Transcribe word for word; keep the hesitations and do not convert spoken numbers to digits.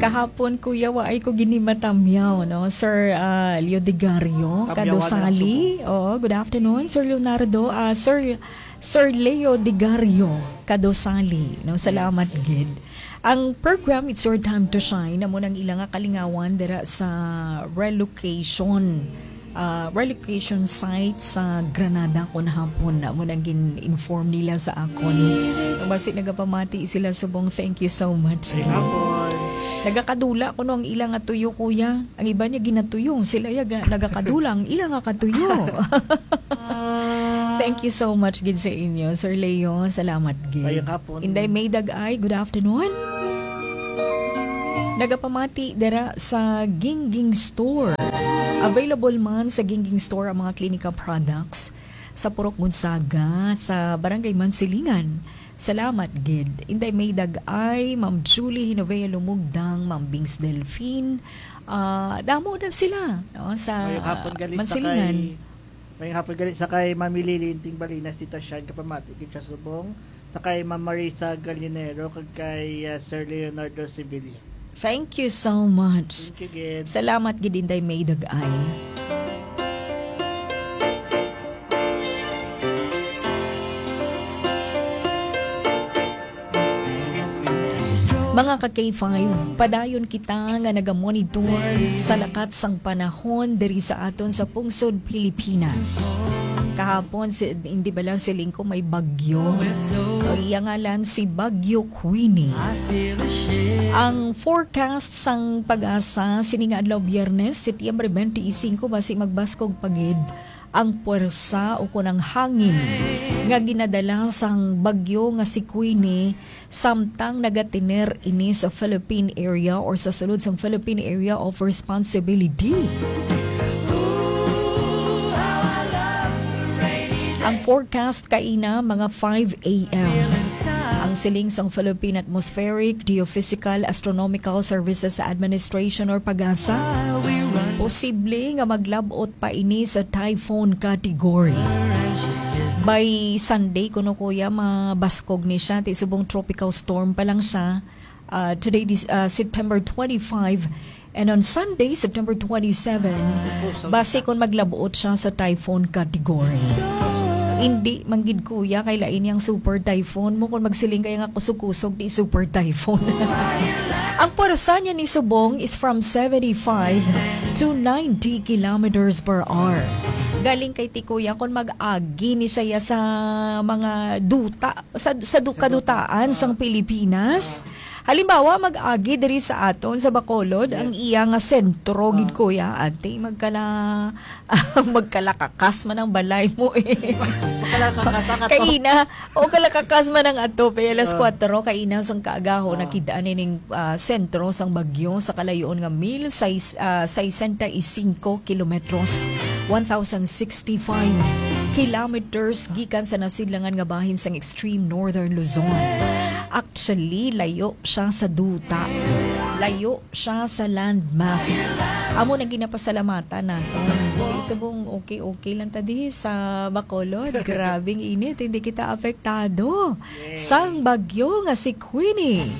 Kahapon, kuya, wa ay ko ginimatamyaw, no? Sir, ah, Leo Digario, Tamyawan na lang Kadosali. Subo. Oo, good afternoon, Sir Leonardo. Ah, Sir, Sir Leo Digario, Kadosali, no? Salamat Yes. gid. Ang program, It's Your Time to Shine, amo nang ila nga kalingawan dira sa relocation, ah, relocation site sa Granada kon hapon. Amo nang gin-inform nila sa akon. Basi nagapamati sila subong, thank you so much. Ay, hapon. Nagakadula kuno ang ila nga tuyo, kuya. Ang iba niya ginatuyo, sila ya ga-, nagakadula ang ila nga katuyo. Thank you so much gid sa inyo, Sir Leo. Salamat gid. Mayong hapon. Inday May Dag-ay, good afternoon. Nagapamati dira sa Gingging Store. Available man sa Gingging Store ang mga Clinica products sa Purok Gonzaga, sa Barangay Mansilingan. Salamat gid. Inday May Dag-ay, Ma'am Julie Hinovea Lumugdang, Ma'am Bings Delfin. Ah, damo na sila, no, sa Mayong hapon gali sa Mansilingan. kay, mayong hapon gali sa kay Mami Lily Inting Balinas, Tita Shine, kapamati gid siya subong, sa kay Ma'am Marisa Galinero, kag kay, ah, Sir Leonardo Sevilla. Thank you so much. Thank you gid. Salamat gid, Inday May Dag-ay. Mga ka K five, padayon kita nga nagamonitor sa lakat sang panahon diri sa aton sa pungsod Pilipinas. Kahapon, si, hindi bala siling ko may bagyo. Ang iya ngalan si Bagyo Queenie. Ang forecast sang PAGASA sini nga adlaw, Biyernes, Setyembre twenty-five, basi magbaskog pa gid ang puwersa o kon ang hangin nga ginadala sang bagyo nga si Queenie, samtang nagatener ini sa Philippine area or sa sulod sang Philippine Area of Responsibility. Ang forecast kaina mga five a m. Ang siling sang Philippine Atmospheric, Geophysical, Astronomical Services Administration or PAGASA, posible nga maglab-ot pa ini sa typhoon category. By Sunday kuno, kuya, mabaskog ni siya. Ti subong tropical storm pa lang siya. Ah, today is, ah, September twenty-five, and on Sunday, September twenty-seven, basi kon maglab-ot siya sa typhoon category. Hindi man gid, kuya, kay lain yang super typhoon mo. Kung magsiling kaya nga kusog-kusog, di super typhoon. Ang pwersa niya ni subong is from seventy-five to ninety kilometers per hour. Galing kay ti, kuya, kung mag-agi ni siya sa mga duta, sa, sa du-, Sa duta. kadutaan sang Pilipinas. Halimbawa, mag-agi diri sa aton sa Bacolod, Yes. ang iya nga sentro gid, Ah. kuya, ate, magkala-, magkalakakas man ang balay mo, eh. Magkalakakas ang ato. Kaina, o kalakakas man ang ato, kay alas Ah. kuwatro kaina sang kaagaho, Ah. nakit-an ining, ah, sentro sang bagyo sa kalayoon nga mil sais-, ah, sesenta y cinco kilometros, one thousand sixty-five kilometers gikan sa nasidlangan nga bahin sang extreme northern Luzon. Actually, layo siya sa duta. Layo siya sa landmass. Amo na ginapasalamatan nato. Subong okay-okay lang ta di sa Bacolod. Grabing init, hindi kita apektado Yay. sang bagyo nga si Queenie.